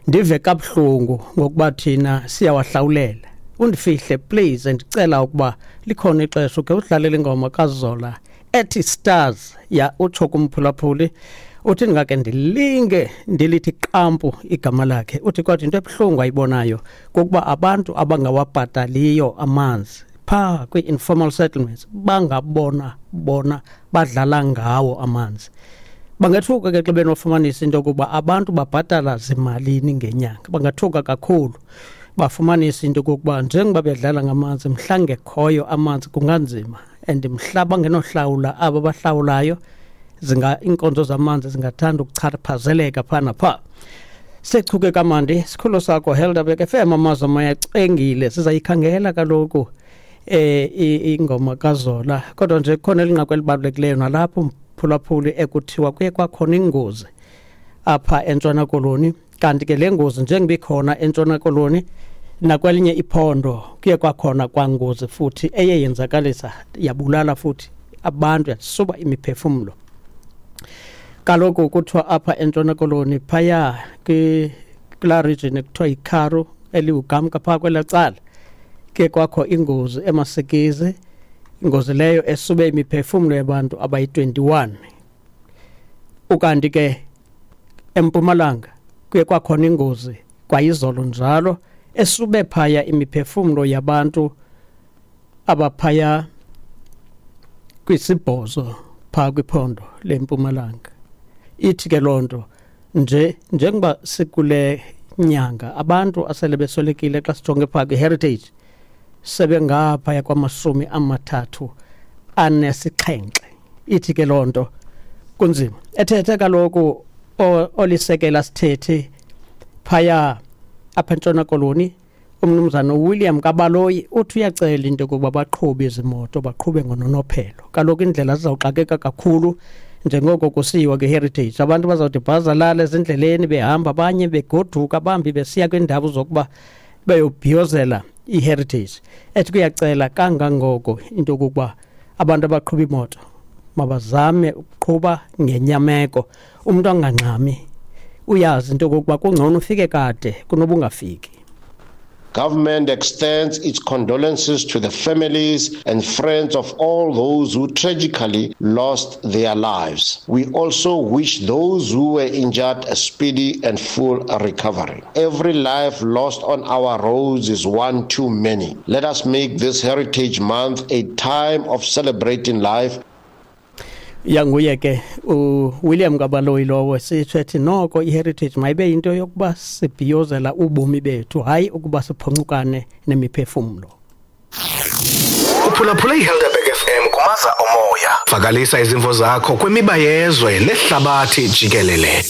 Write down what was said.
Ndive kabuhlungu ngokuba thina siyawahlawulela. Undifihle please, ndicela ukuba likhona ixesha ukhe udlalele ingoma kaZola ethi Stars. Ya, utsho kumphulaphuli, uthi ndingake ndilinge ndilithi qampu igama lakhe. Uthi kodwa into ebuhlungu ayibonayo kukuba abantu abangawabhataliyo amanzi phaa kwii-informal settlements bangabona bona badlala ngawo amanzi. Bangethuka ke xa benofumanisa into yokuba abantu babhatala zimalini ngenyanga. Bangathuka kakhulu bafumanise into yokokuba njengoba bedlala ngamanzi, mhla ngekhoyo amanzi kunganzima, and mhla bangenohlawula abo bahlawulayo, zinga iinkonzo zamanzi zingathanda ukuchaphazeleka phaa naphaa. Sechuke kamandi sikhulu sakho Helderberg FM, amazwi amayacengile. Sizayikhangela kaloku ingoma kaZola, kodwa nje kukhona elinqaku elibalulekileyo nalapho mphulaphuli ekuthiwa kuye kwakhona ingozi apha eNtshona Koloni. Kanti ke le ngozi njengoba ikhona eNtshona Koloni, nakwelinye iphondo kuye kwakhona kwangozi futhi eye yenzakalisa, yabulala futhi abantu, yasuba imiphefumlo. Kaloku kuthiwa apha eNtshona Koloni phaya kulaa region ekuthiwa yiKharu eliwugamka phaa kwelaa cala, ke kwakho ingozi emasikizi, ingozi leyo esube imiphefumlo yabantu abayi-21. Ukanti ke eMpumalanga kuye kwakhona ingozi kwayizolo njalo esube phaya imiphefumlo yabantu abaphaya kwisibhozo phaa kwiphondo leMpumalanga. Ithi ke loo nto nje njengoba sikule nyanga abantu asele beswelekile xa sijonge phaa kwi-heritage sebengaphaya kwama-37. Ithi ke loo nto kunzima. Ethethe kaloku olisekela sithethi phaya apha eNtshona Koloni, umnumzana uWilliam Kabaloyi, uthi uyacela into yokuba baqhubi izimoto baqhube ngononophelo. Kaloku indlela zizawuxakeka kakhulu njengoko kusiyiwa kwi-heritage. Abantu bazawuthi bhazalala ezindleleni behamba, abanye begoduka, bambi besiya kwiindawo zokuba beyobhiyozela i-heritage. Ethi kuyacela kangangoko into yokokuba abantu abaqhuba imoto mabazame ukuqhuba ngenyameko, umntu angangxami, uyazi into yokokuba kungcono ufike kade kunoba ungafiki. Government extends its condolences to the families and friends of all those who tragically lost their lives. We also wish those who were injured a speedy and full recovery. Every life lost on our roads is one too many. Let us make this Heritage Month a time of celebrating life. Yanguye ke uWilliam Kabaloyi lowo, sitsho ethi noko i-heritage mayibe yinto yokuba sibhiyozela ubomi bethu, hayi ukuba siphoncukane nemiphefumlo. Uphulaphula iHelderberg FM kumaza omoya. Vakalisa izimvo zakho kwimiba yezwe nehlabathi jikelele.